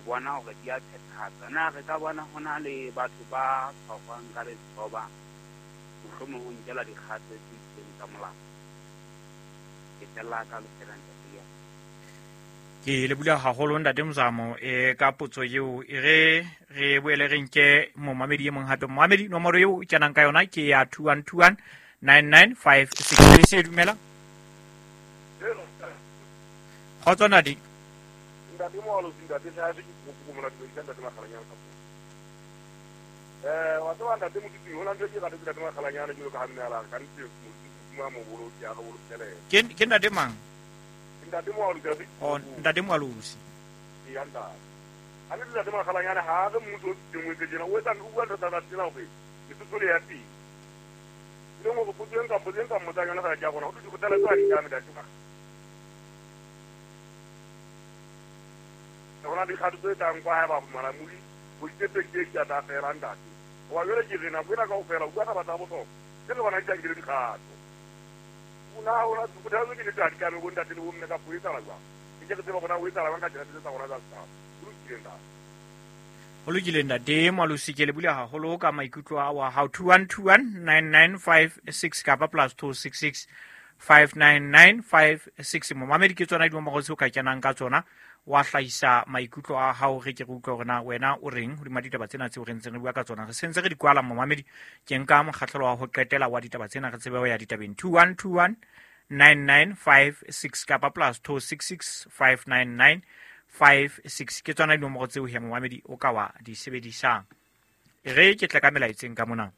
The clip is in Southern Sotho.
bona hore di a phethahatswa. Na re ka bona ho na le batho ba tshwarwang ka letsoba, mohlomong ho nkelwa dikgato tse itseng tsa molao? Ke fella ka lefela, ntate ya. Ke lebula haholo, ntate Mozamo, ka potso eo. E re re boele re nke momamedi e mong hape. Momamedi, nomoro eo o kenang ka yona ke ya 2121 9956. Se dumela, kgotso ntate. Ntate Moalosi, ntate Tlhase, ke kopo mona dumedisa ntate Makgalanyane ka puo. Wa tseba, ntate Motsotsing, ho na ntho e ke ratetse ntate Makgalanyane jalo ka ha mme a la re ka nnete Modimo a mo boloke, a re bolokele. Ke ntate mang? Ntate Moalosi a se. O ntate Moalosi. Ya ntate. A nnete ntate Makgalanyane ha re mmuso o tsitseng o etse tjena, o etsa, o bua ntho tsa tsela hore Lesotho le ya teng. E leng hore potso e nka mmotsang yona fela ke ya rona ho thwe dikgothaletso ha di tlame, ntate. Ho na le dikgato tse tlang kwa haeba monamodi ho ditse 28 a tla fela, ntate. Hoba jwale ke re nako ena kaofela o bua taba tsa bohlokwa tse re bona di sa nkele dikgato. Na hona dikgothaletso ke nnete ha di tlame bo ntate le bomme kapa ho etsahala jwang? Ke ke re tseba hore na ho etsahala jwang ka tjhelete tsa rona tsa setjhaba. Ho lokile, ntate. Ho lokile, ntate Moalosi, ke lebule haholo ka maikutlo a wa hao. 2121 9956 kapa +266 59956. Momamedi, ke tsona dinomoro tseo ka kenang ka tsona wa hlahisa maikutlo a hao, re ke re utlwe hore na wena o reng hodima ditaba tsena tseo re ntseng re bua ka tsona. Re sentse re di kwala, momamedi. Ke nka mokgahlelo wa ho qetela wa ditaba tsena, re tsebe ho ya ditabeng. 2121 9956 kapa +266 59956, ke tsona dinomoro tseo he, momamedi, o ka wa di sebedisang. E re ke tle ka melaetseng ka mona.